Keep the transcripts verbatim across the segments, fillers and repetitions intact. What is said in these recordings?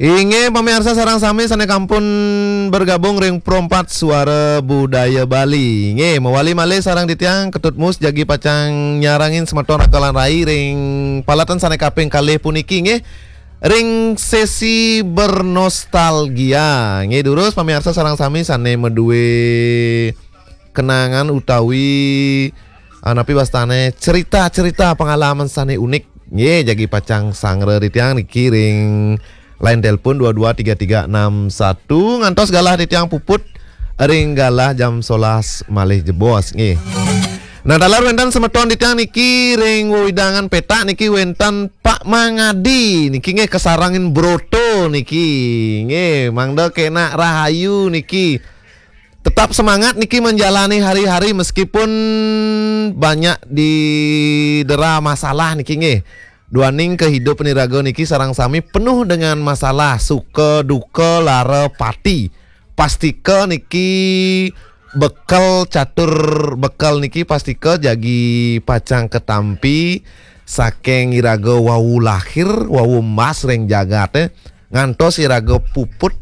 Inggih, pamiarsa sareng sami sané kampun bergabung ring Pro empat Suara Budaya Bali. Inggih, mawali malih sareng titiang Ketut Mus jagi pacang nyarengin semeton Raka lan Rai ring paletan sané kaping kalih puniki, inggih, ring sesi bernostalgia. Inggih, durus pamiarsa sareng sami sané madué kenangan utawi, ah, napi wastané cerita-cerita pengalaman sané unik. Nggih, jagi pacang sanggra titiang niki ring line telepon dua dua tiga tiga enam satu ngantos galah titiang puput ring galah jam sebelas malih jebos nggih. Nah, taler wénten semeton titiang niki ring wewidangan petak niki wénten Pak Mangadi niki nggih kasarengin broto niki. Nggih, mangda kénak rahayu niki. Tetap semangat niki menjalani hari-hari meskipun banyak didera masalah niki nggih. Duaning kehidupan iraga niki sareng sami penuh dengan masalah, suka, duka, lara, pati. Pastika niki bekel catur bekel niki pastika jagi pacang katampi saking iraga wau lahir, wau embas ring jagaté, ngantos iraga puput,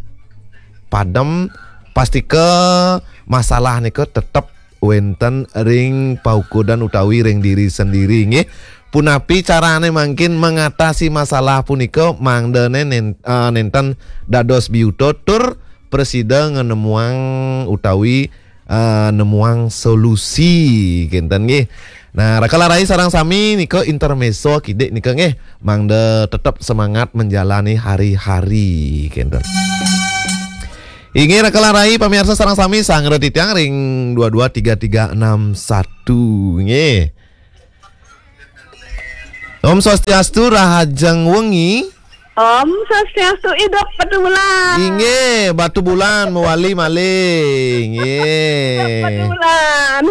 padem, pastika masalah nika tetep wénten ring paukudan utawi ring diri sendiri, nggih. Punapi carané mangkin mengatasi masalah punika, mangdané nen-, eh, nénten dados biuta tur prasida nganemuang utawi, eh, nemuang solusi, kénten nggih. Nah, Raka lan Rai sareng sami nika intermezzo kidik nika nggih, mangda tetep semangat menjalani hari-hari, kénten. Inggih, Raka lan Rai, pamiarsa sareng sami sanggra titiang ring dua dua tiga tiga enam satu nggih. Om Swastiastu, rahajeng wengi. Om Swastiastu, idup Batubulan. Inggih, Batubulan mawali malih. Inggih. Idup Batubulan.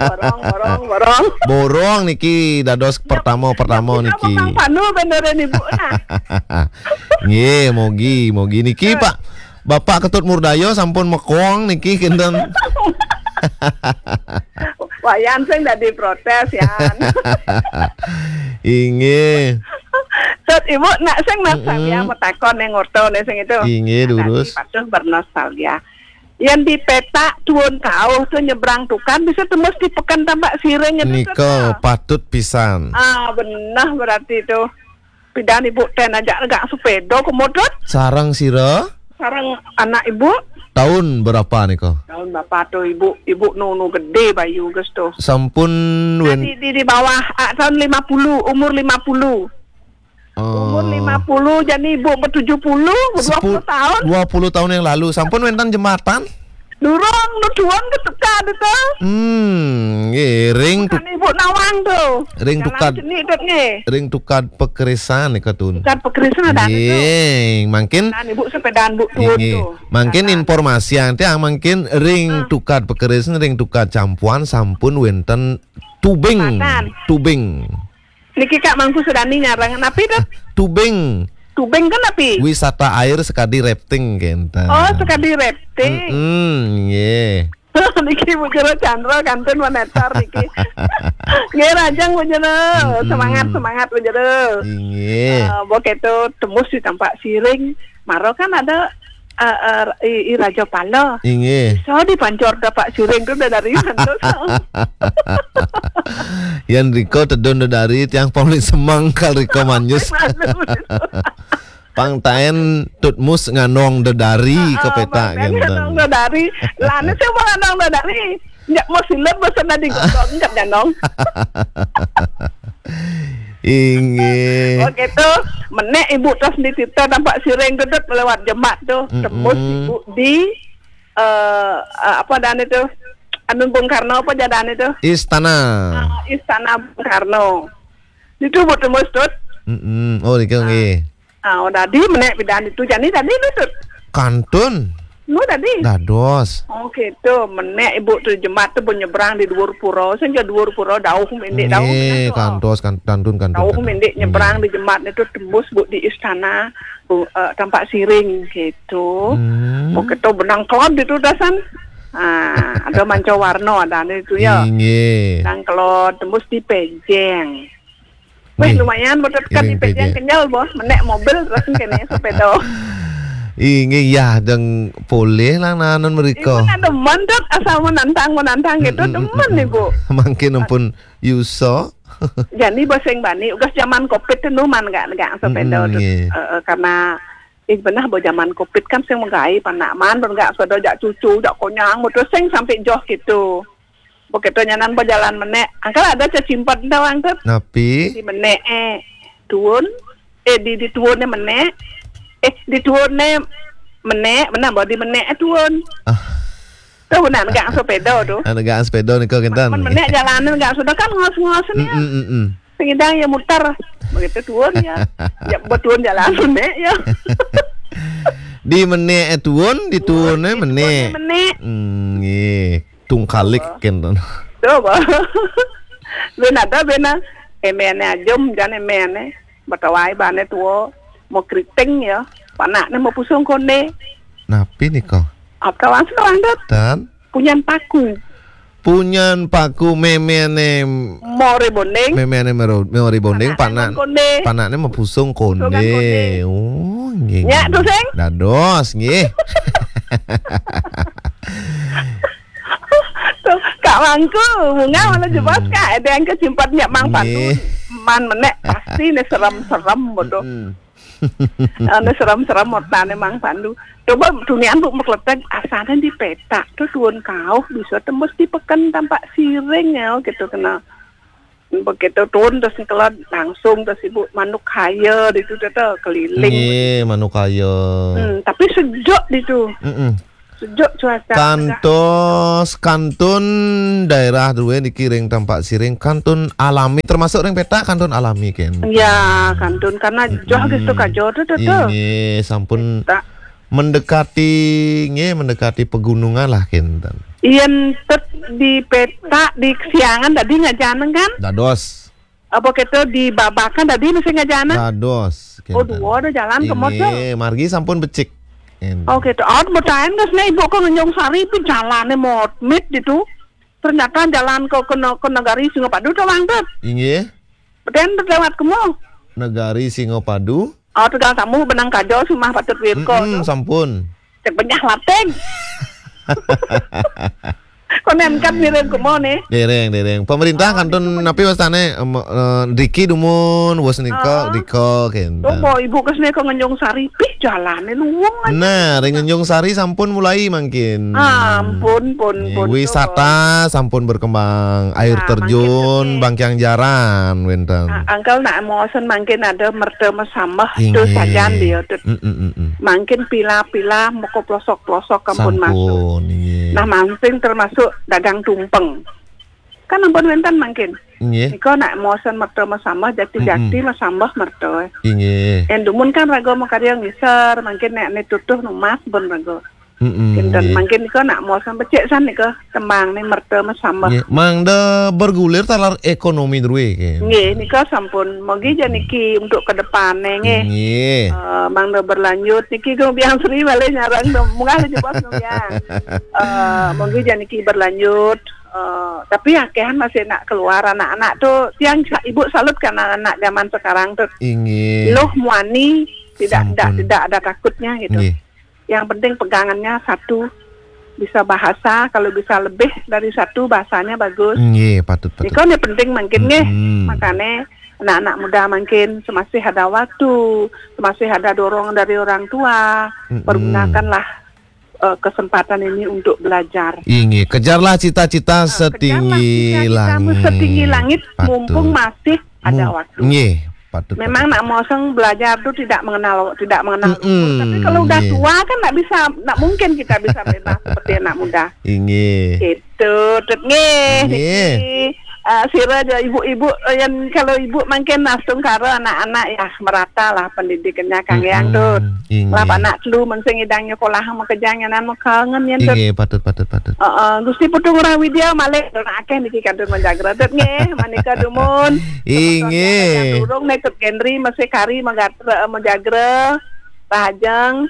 Borong, borong, borong. Borong niki dados pertama-pertama niki. Bang Panu beneran ibu nah. Nggih, mogi, mogi niki Pak Bapak Ketut Murdaya sampun mekong niki kénten. Wayan sing dadi protes, Yan. Inggih. Tut ibu nak sing nak Mm-mm. Samya matakon yang ngorto nih sing itu. Inggih, nah, durus. Tadi patuh bernostalgia. Yang di petak tuun kauh tuh nyebrang tukad bisa tembus di Pekan Tambak Siring itu. Nika tuh. Patut pisan. Ah, benar berarti itu. Pidan ibu ten aja agak sepeda kemudut. Sarang sira? Sarang anak ibu. Tahun berapa nika? Tahun berapa tuh ibu? Ibu nu, nu gede bayu ges tuh. Sampun nah, wen- di, di, di bawah ah, tahun lima puluh, umur lima puluh. Oh. Umur lima puluh, jadi ibu bertujuh puluh, dua puluh tahun. Dua puluh tahun yang lalu. Sampun wénten jembatan? Durung, nu tuun ketukad itu. Hmm, nggih, ring tuk- ibu nawang tuh. Ring tukad. Ring tukad pekerisan nika tuun. Tukad pekerisan ada itu. Nggih, mangkin. Dan ibu sepedaan bu tuun tuh. Mangkin informasi yang tiang mangkin ring tukad pekerisan, ring tukad campuan sampun wénten tubing. Tubing. Niki Kak Mangku Sudani nyarang. Napi tuh? Tubing. Tubing kan napi? Wisata air sekadi rafting kénten. Oh, sekadi rafting. Mm-mm, nggih. Niki Bu Jero Chandra kantun menetar niki. Nggih, rajang Bu Jero. Mm-mm. Semangat, semangat Bu Jero. Inggih. Eh, bo keto tembus di Tambak Siring. Maro kan ada eh, eh, i, i Raja Pala. Inggih. So di pancor Tambak Siring tuh dari mana tuh? Yang riko tedun dari tiang pamli semang kal riko manjus. Pang taén tutmus nganong dedari ke petak gitu. Nganong dedari. Lana sih mau nganong dedari. Nyak mau silet bosan tadi godong nyak nganong. Inggih. Oh gitu. Menek ibu terus di tita Tambak Siring gedut lewat jemak tuh. Tembus ibu di eh eh, apa dan itu? Anu Bung Karno apa jadan itu? Istana. Ah, Istana Bung Karno. Itu bu tembus tut. Mm-mm. Oh, niki nggih. Ah, oh, tadi menek pidan itu jani tadi itu tut. Kantun. Nu tadi. Dados. Oh gitu, menek ibu tu jemat tu nyebrang di dhuwur pura, sing ja dhuwur pura dauh mendik dauh. Nggih, kantos kan kantun kantun. Dauh mendik nyebrang di jemat itu tembus bu di istana bu, eh, Tambak Siring gitu. Hmm. Oh gitu benang kelod itu dasan. Ah, ada manca warna ada itu ya. Inggih. Nang kelod tembus di pejeng. Weh, nggih, lumayan, betul kan, iring ipek yang pejeng. Kenyal, boh. Menek mobil terus kene sepeda. Inggih, ya, deng polih lah nanan mereka. Ibu nak demen, Dut, asal menantang, menantang gitu, mm, mm, demen, mm, mm. Ibu. Mangkin ampun yuso. Jani boseng bani, ugas zaman covid tu numan gak, gak sepeda, mm, Dut. Nggih. Eh, eh, karena, eh, benah bo zaman covid kan sing megai, panak man, ben gak sepeda, jak cucu, jak konyang, betul sing sampai joh gitu. Begitu nyanan berjalan menek. Angkal ada cecimpat entah orang tu. Napi? Di menek, eh, tuun. Eh, di, di tuun ni menek. Eh, di tuun ni menek. Mana bawa di menek, eh, tuun. Ah. Tu nak negak sepeda tu. Nak negak sepeda ni kau kentan. Menek jalan ni negak sepeda kan ngos-ngos ni. Mm, mm, mm, mm. Sengidang ya mutar. Begitu tuun ya. Ya, betuun jalan menek ya. Di menek, eh, tuun, di tuun, eh, menek. Menek. Hmm, nggih. Tungkalik kenten. Coba. Bena ada bena. Emene ajum jan emene. Batawai bane tuo. Mau keriting ya. Panakne mau pusung konde. Napi nika? Apa kawan sekarang, Dut? Tan? Punyan paku. Punyan paku memene. More bonding. Memene mero-, more bonding, panakne panak. Konde. Panakne mau pusung konde. Pusung konde. Oh, nggih. Nyak tu, sing? Dados, nggih. Tu, Kak Mangku, bunga mana jebos, Kak? Ada yang kesimpat nyak Mang Pandu. Nggih. Man menek pasti ni serem-serem bodoh. Mm-mm. Anu serem-serem motane Mang Pandu. Coba tunian bu mekletek asane di petak tu tuun kauh bisa tembus di peken tampak siring ya gitu kena. Begitu tuun terus kelod langsung terus ibu manuk kaya di tu tu keliling. Nggih, manuk kaya. Hmm, tapi sejuk di tu. Mm-mm. Sejuk cuaca. Kantos, kantun daerah drue niki ring tampak siring, kantun alami, termasuk ring petak kantun alami, ken? Ya, kantun karena joh gitu kajo tu, tu, tu. Ini sampun mendekati, nggih, mendekati pegunungan lah, kenten. Yen tet di petak di kesiangan tadi ngajanan kan? Dados. Apa kita di babakan tadi mesti ngajana? Dados. Oh, kenten. Dua ada jalan ke motor. Ini margi sampun becik. Kenten. Oh, gitu. Oh, betain ke sini ibu ke Ngenjung Sari pun jalannya motmit gitu. Ternyata jalan ke, ke, ne-, ke negari Singapadu tu, Bang, Dut. Inggih. Betain tu lewat kemo. Negari Singapadu. Oh, tegal tamu benang kajo sumah patut wirko. Mm-mm, tu. Sampun. Cek benyah lateng. Konen kan mirip kemo ni. Dereng, dereng. Pemerintah kantun napi wastane, em, eh, driki dumun, was nika, drika, kenten. Oh, ibu ke sini ke Ngenjung Sari, pih jalannya luwung aja. Nah, ring Ngenjung Sari sampun mulai mangkin. Ah, ampun, pun, pun. Wisata sampun berkembang, air terjun, mangkin, Bangkiang Jaran, wenten. Ah, Angkel nak mosen mangkin ada merta mesambah tu sajan dia tu. Mm, mm, mm, mm. Mangkin pila-pila moko pelosok-pelosok kampun masuk. Sampun, iya. Nah, mansing termasuk dagang tumpeng. Kan ampun wenten mangkin. Nggih. Nika nak mosen merta mesambah jati-jati mesambah merta. Nggih. Yang dumun kan raga makarya ngiser, mangkin nek ne tutuh numas pun raga. Mm-mm, kenten nggih. Mangkin nika nak mosen becik san nika tembang ni merta mesambah. Nggih. Mangda bergulir taler ekonomi drue, kenten. Nggih, nika sampun. Mogi ja niki untuk ke depan nggih. Nggih. Eh, mangda berlanjut niki Gung Biang Sri balik nyarang dong. Munggah aja bos Gung Biang. Eh, mogi ja niki berlanjut. Eh, tapi akehan masih nak keluar anak-anak tu. Tiang sa-, ibu salut kan anak-anak zaman sekarang tu. Inggih. Loh muani tidak, tidak, sampun, tidak ada takutnya gitu. Nggih. Yang penting pegangannya satu, bisa bahasa, kalau bisa lebih dari satu bahasanya bagus. Nggih, patut, patut. Nika ni penting mangkin nggih. Mm-mm. Makane anak-anak muda mangkin semasih ada waktu, semasih ada dorongan dari orang tua, mm-mm, pergunakanlah, eh, kesempatan ini untuk belajar. Inggih, kejarlah cita-cita setinggi langit. Eh, kejarlah cita-citamu setinggi langit, patut, mumpung masih ada waktu. Nggih, patut, patut. Memang nak moseng belajar tu tidak mengenal, tidak mengenal umur. Mm-mm, tapi kalau udah tua kan tak bisa, tak mungkin kita bisa bebas seperti anak muda. Inggih. Itu, Tut, nggih. Nggih. Niki, eh, sira aja ibu-ibu, eh, yang kalau ibu mangkin astungkara anak-anak ya merata lah pendidikannya Kang Yang, Tut. Mm-mm, inggih. Lah anak telu mensing idang nyekolah makejang nyanan makangen yen, Tut. Inggih, patut, patut, patut. Heeh, Gusti Putu Ngurah Widya malih akeh niki kantun menjagra, Tut, nggih. Manika dumun. Inggih. Durung nek Tut Gendri masih kari menjagra, menjagra. Rahajeng.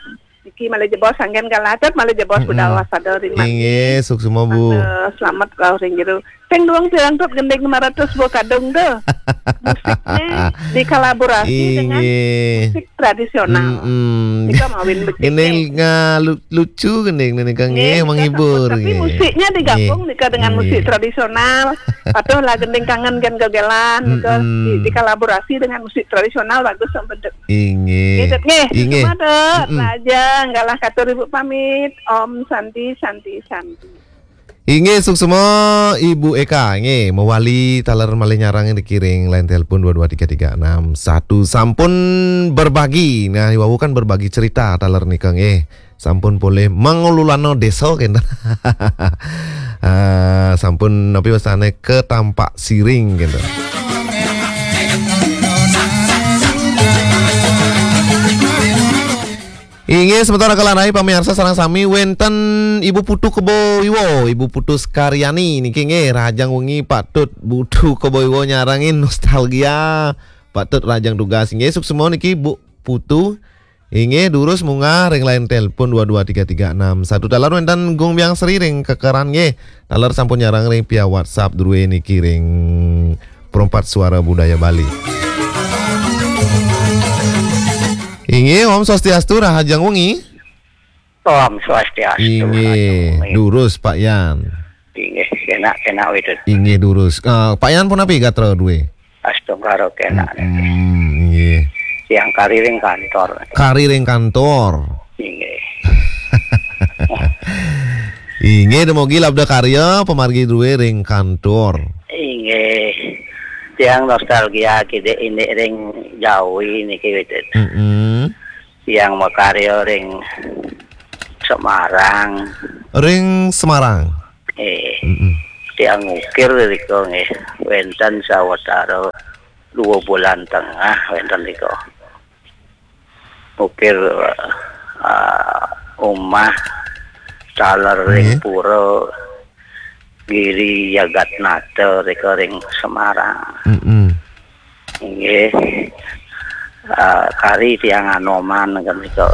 Niki malih jebos anggen kalatet, malih jebos budal waspada ring mangkin. Inggih, suksma, Bu. Selamat kau ring jero. Sing duang pirang tut gending lima ratus buah kadung tu. Musiknya dikolaborasi dengan musik tradisional. Mm-mm. Nika mawin becik. Gending nga-, lu-, lucu gending nika nggih, menghibur. Tapi nggih, musiknya digabung nika dengan musik tradisional. Patuh lah gending kangen kan gegelan nika di-, dikolaborasi dengan musik tradisional bagus sampai. Inggih. Inggih, Dut, nggih. Inggih. Suksma, Dut. Mm-mm. Raja, enggalah katur Ibu pamit. Om Santi, Santi, Santi. Inggih, suksma Ibu Eka, nggih, mawali taler malih nyarang niki ring line telepon dua dua tiga tiga enam satu. Sampun berbagi. Nah, iwau kan berbagi cerita taler nika, nggih. Sampun polih mangululana desa, kenten. Ah, sampun napi wastane ka Tampak Siring, kenten. Inggih, semeton raka lanai pamiarsa sareng sami, wenten Ibu Putu Kebo Iwa, Ibu Putu Karyani niki nggih, rahajeng wengi Pak Tut Putu Kebo Iwa nyarengin nostalgia. Pak Tut rahajeng tugas nggih, suksma niki Bu Putu. Inggih, durus munggah ring line telepon dua dua tiga tiga enam satu. Taler wenten Gung Biang Sri ring Kekeran nggih. Taler sampun nyarang ring via WhatsApp druwe niki ring Perempat Suara Budaya Bali. Inggih, Om Swastiastu, rahajeng wengi. Om Swastiastu, inggih, rahajeng wengi. Durus, Pak Yan. Inggih, kenak-kenak itu. Inggih, durus. Eh, Pak Yan punapi gatra druwe? Astungkara kenak. Hmm, inggih. Tiang kari ring kantor. Kari ring kantor. Inggih. Inggih, dumugi labda karya pamargi druwe ring kantor. Inggih. Tiang nostalgia kidik indik ring Jawi niki, Widit. Mm-mm. Tiang makarya ring Semarang. Ring Semarang. Eh, mm-mm. Tiang ngukir rika nggih, wenten sawetara dua bulan tengah wenten rika. Ngukir, ah, umah taler ring, nggih, pura Giri Jagatnata rika ring Semarang. Mm-mm. Nggih. Ah, kari tiang Anoman kan rika.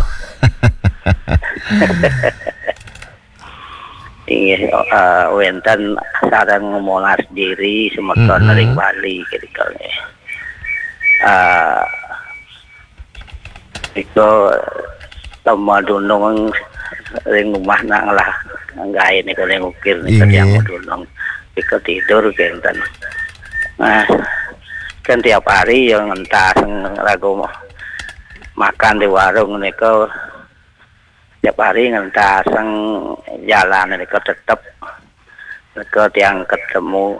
Inggih, eh, wenten sareng Monas Diri semeton, mm-mm, ring Bali ketika nggih. Eh, nika tema dunung ring umah nak ngelah gae nika ring ukir nika, inggih, tiang dunung. Nika tidur kenten. Nah, kan tiap hari ya ngentas ragu makan di warung nika. Tiap hari ngentasang jalan nika tetep. Nika tiang ketemu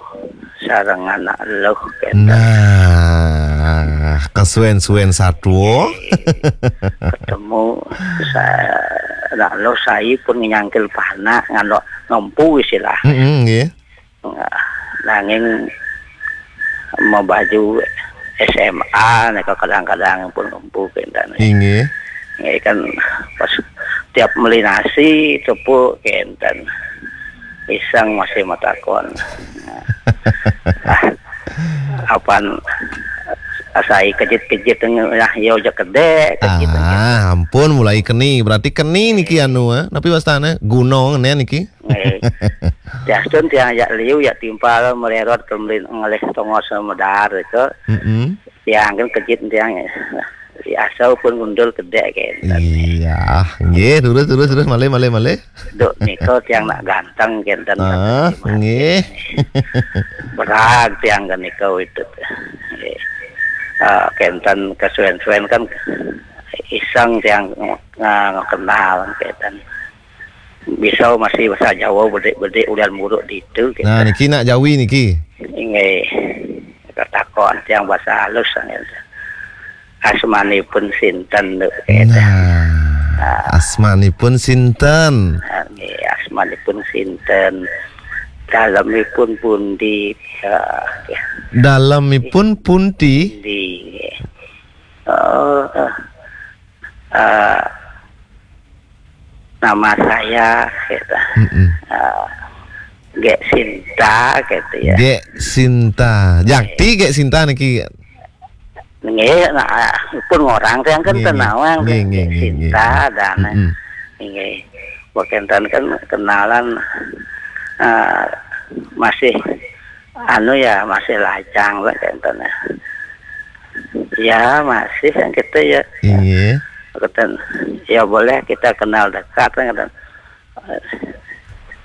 sareng anak luh, kenten. Nah, kesuwen-suwen satua. Ketemu sa-, anak luh sai pun nyangkil panak, ngandok ngempu istilah. Mm-mm, nggih. Nah, nanging mabaju S M A nika kadang-kadang pun ngempu kenten. Inggih. Nggih kan pas tiap meli nasi tepuk kenten. Pisang masih matakon. Nah, apan asai kejit-kejit, nah, yo aja kedek, kejit, ah, kejit. Ampun, mulai keni. Berarti keni niki anu, eh. Napi wastane? Gunung ne niki. Nggih. Tiastun tiang jak liu, jak timpal, mererot, kemudian ngelih tongos medar ke. Mm-mm. Tiang kan kejit tiang. Di asau pun ngundul kedek kenten. Iya, nggih, terus, terus, terus, malih, malih, malih. Duk nika tiang nak ganteng kenten. Ah, kenten, nggih. Berag tiang ke nika itu. Nggih. Ah, kenten kesuwen-suwen kan iseng tiang ng-, ng-, kenal kenten. Bisa masih bahasa Jawa bedik-bedik ulian muruk ditu, gitu. Nah, niki nak Jawi niki. Inggih. Katakon tiang bahasa halus, gitu. Asmanipun sinten, gitu. Nah, ah, asmanipun sinten? Ah, nggih, asmanipun sinten? Dalemipun pundi? Ya, ya. Dalemipun pundi? Pundi, nggih. Oh, eh, eh, nama saya, gitu. Mm-mm. Eh, Gek Sinta, gitu ya. Gek Sinta. Jakti Gek Sinta niki. Nggih, nah, pun orang yang kan, nggih, nggih, tenawang, nggih, kan, nggih, Gek, nggih, Sinta, nggih. Dan, mm-mm, nggih. Bukan kan kenalan, eh, masih Anu ya, masih lajang lah, kenten. Ya, masih kan kita ya. Iya. Kenten. Ya boleh kita kenal dekat kan, kenten.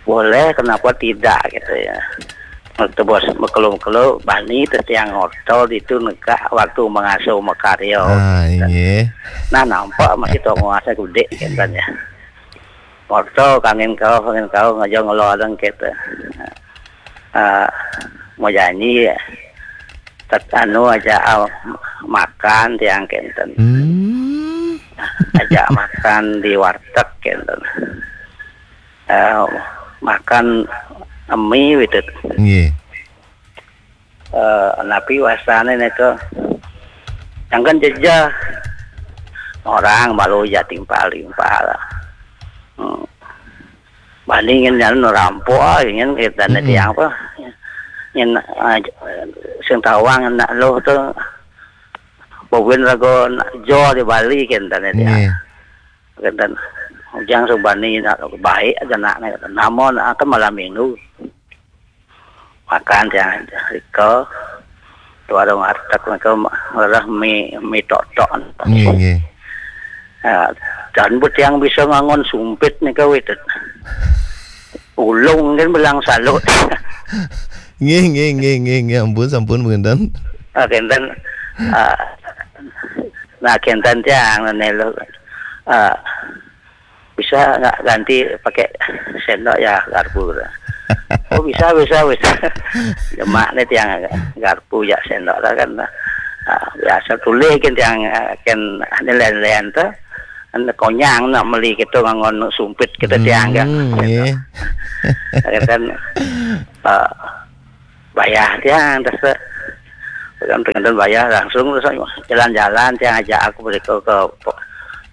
Boleh, kenapa tidak gitu ya. Waktu bos bekelum-kelum, bani teh tiang ngotol itu negak waktu mengasuh makarya. Ah, iya. Nah, nampak masih tonggoh asa gede, kenten ya. Ngotol, kangen kau, kangen kau, ngajak ngeloreng gitu. Ah, mau janji ya. Tet anu aja, ah, makan tiang kenten. Hmm. Aja makan di warteg kenten. Eh, makan mie gitu. Nggih. Eh, napi wasane nika? Jangan jejeh. Orang malu ya timpal-timpal. Hmm. Bandingin jan rampo, ah, ingin kita nanti apa? Yang, ah, sing tawang nak lo tu, bawin rago nak jo di Bali kenten ya. Nggih. Kenten. Ujang subani nak baik aja nak, nak. Namun akan malam minggu. Makan tiang rika. Warung warteg mereka ngelah mi, mi tok-tok. Nggih, nggih. Ah, dan buat yang bisa ngangon sumpit nika wit. Ulung kan belang salut. Nggih, nggih, nggih, nggih, nggih, ampun, sampun, kenten. Ah, kenten. Ah, nah, kenten tiang nelo. Ah, bisa nggak ganti pakai sendok ya, garpu? Oh, bisa, bisa, bisa. Demak ni tiang garpu ya, sendok lah kan. Ah, biasa tulis kan tiang, ah, kan ada lain-lain tu. Anda konyang nak meli kita ngangon sumpit kita tiang kan. Hmm, iya. Kan, ah, bayar tiang, terus kan dengan bayar langsung, terus jalan-jalan tiang ajak aku beli ke, ke,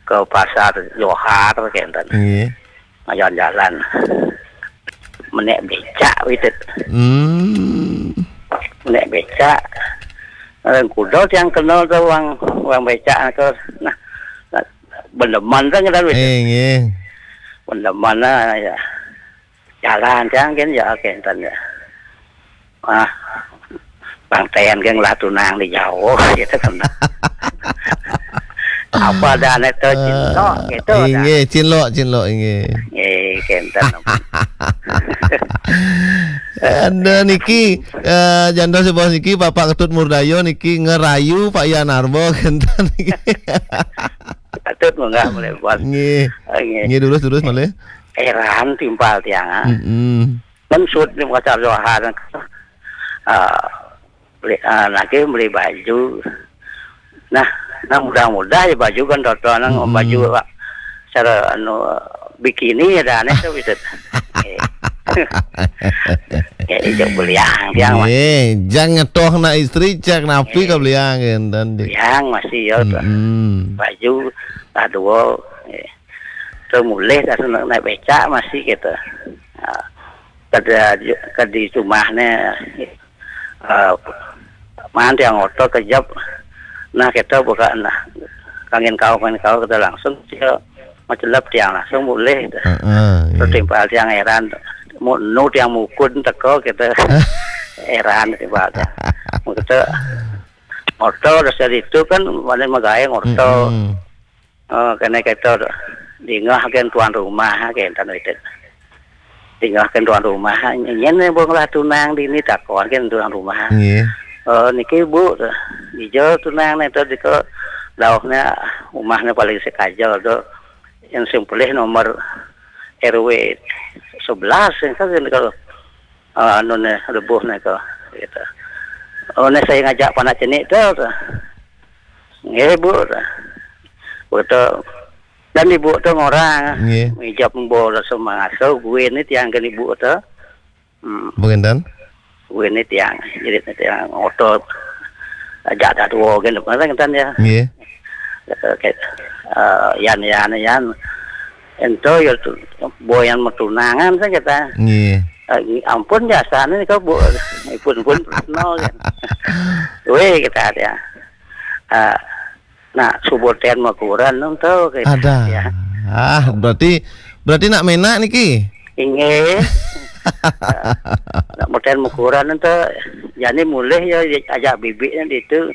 ke pasar Johar kenten. Iya. Jalan-jalan. Menek becak wit. Hmm. Menek becak. Orang kuda tiang kenal tu, wang, wang becak tu. Nah, nah, bendeman tu ngedan wit. Eh, nggih. Bendeman lah ya. Jalan tiang kan ya, kenten ya. Ah, Bang Ten kan lah tunang di jauh gitu kan. Apa dah anak tu cinlok gitu dah. Inggih, cinlok, cinlok, inggih. Eh, kenten. Anda niki, eh, janda si bos niki, Bapak Ketut Murdayo niki ngerayu Pak Yan Arbo, kenten niki. Ketut munggah boleh buat. Nggih. Nggih. Nggih, terus, terus, malih. Eran timpal tiang, ah. Mm-mm. Kan sud ni pasar Johar. Ah, beli, ah, lagi beli baju. Nah, nah, mudah-mudah ya baju kan, toto nang baju, Pak. Cara anu, bikini ya dah, aneh tu bisa. Eh. Ya, itu beliang tiang, Mas. Eh, jangan toh nak istri, cak napi ka beliang, kenten, dik. Beliang masih ya tu. Mm-mm. Baju, lah dua. Eh. Tu mulih dah tu naik becak masih gitu. Ah. Kada, kada di rumah ni, eh, man tiang oto kejap. Nah, kita buka, nah, kangin kau, kangin kau, kita langsung dia macelep tiang langsung boleh. Heeh, terus iya. Timpal tiang eran, mu-, nu tiang mukun teko kita eran timpal tiang. Kita oto dasar itu kan, mana magaeng oto. Mm-mm. Oh, kena kita dingah kan tuan rumah, kan, tanu itu. Dingah kan tuan rumah, nyen ni bong lah tunang di ni takon kan tuan rumah. Nggih. Oh, niki Bu, ijo tunang ni tu diko dauhnya rumahnya paling sekaja tu. Yang simpelih nomor R W sebelas, yang kan kalau, ah, anu ni, lebuh ni ko, gitu. Oh, ni saya ngajak panak cenik tu, tu. Nggih, Bu. Betul. Dan ibu tu ngorang. Nggih. Ijab embo rasa mangasuh, gue ni tiang kan ibu tu. Hmm. Bukenten? Gue ni tiang, jadi ni tiang oto. Ajak dah dua kan, apa kan ya. Nggih. Kata, kata, eh, Yan, Yan, Yan. Ento ya tu, boyan matunangan saya kata. Nggih. Eh, ampun jasane kau, Bu. Ipun pun no kan. Weh, kata dia. Ah, nak subuh ten makuran nang tau kayak ada. Ya. Ah, berarti, berarti nak menak niki? Inggih. Nak meten ukuran ente, jani mulih ya ajak bibiknya itu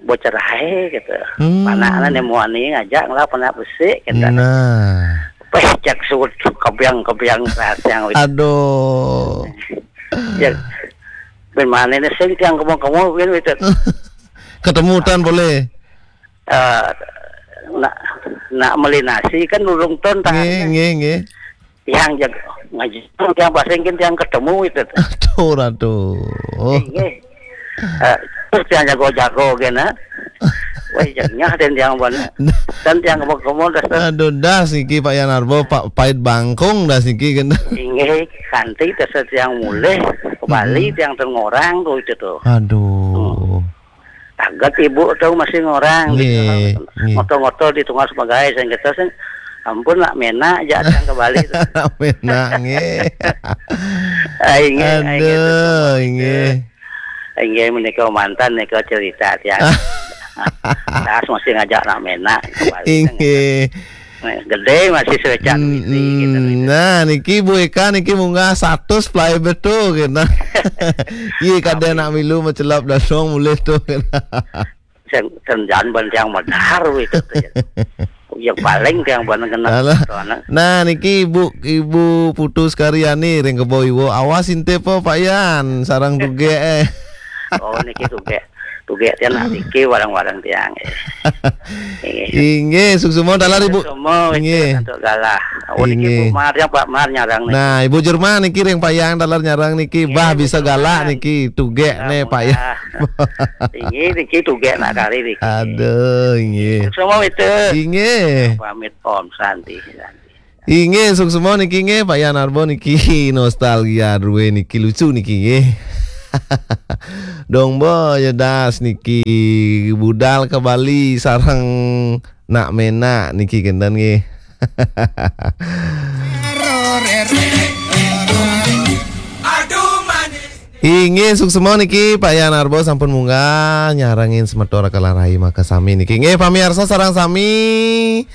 bocah rahe gitu. Hmm. Panakna ne muani ngajak ngelah panak besik gitu. Nah. Peh cek sud kebiang-kebiang yang. Aduh. Ya, ben mana ne sing tiang kemo-kemo ben itu. Ketemu tan boleh. Eh, nak nak meli nasi kan urung ton. Nggih, nggih, nggih. Tiang jago ngaji, tiang pasing kan tiang ketemu itu. Aduh, aduh. Nggih. Eh, terus tiang jago-jago kena. Wah, jadinya dan tiang bana. Dan tiang kemo-kemo dah. Aduh, das niki Pak Yan Arbo, Pak pait bangkung das niki kena. Inggih, kanti tes tiang mulih ke Bali, tiang tengorang tuh itu tuh. Aduh. Taget ibu tuh masih ngorang gitu. Nggih, nggih. Ngoto-ngoto di tengah sebagai sing kita sing ampun nak menak aja tiang ke Bali tuh. Menak nggih. Aing nggih, aing nggih, aduh, terus nggih. Aing nggih menika mantan nika cerita tiang. Das masih ngajak nak menak ke Bali. Inggih. Nah, gede masih serecan. Hmm, gitu, gitu. Nah, niki Bu Eka niki munggah seratus play betul gitu. Iya, kadang nak milu mencelap dadong mulih tuh gitu. Sen-, senjan ban tiang medar itu tuh. Ya paling tiang ban kena. Alah. Nah, niki Ibu, Ibu Putu Sekaryani ring Kebo Iwo. Awas inte po Pak Yan, sarang tugek eh. Oh, niki tugek. Tugek tiang nak niki warang-warang tiang. Eh. Inggih, suksma taler Ibu. Semua inggih. Untuk galah. Oh, niki Inggih. Bu Mar, yang Pak Mar nyarang niki. Nah, Ibu Jerman niki ring Pak Yan taler nyarang niki. Inggih, bah Bu bisa Jerman. Galak niki, tugek ne Pak Yan. Inggih, niki tugek nak kari niki. Aduh, inggih. Semua itu. Inggih. Pamit Om Santi. Santi. Inggih, suksma niki nggih, Pak Yan Arbo niki nostalgia rue niki lucu niki nggih. Dong bo ya das niki budal ke Bali sareng nak menak niki kenten nggih. Inggih, suksma niki Pak Yan Arbo sampun munggah nyarengin semeton Kalarai maka sami niki. Nggih, pamiarsa sareng sami.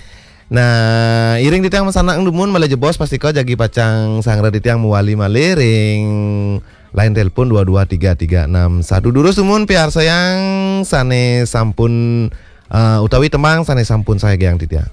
Nah, iring titiang masanak dumun malih jebos pastika jagi pacang sanggra titiang mawali malih ring line telepon dua dua tiga tiga enam satu. Durus dumun piarsayang sane sampun, eh, utawi tembang sane sampun saegang titiang.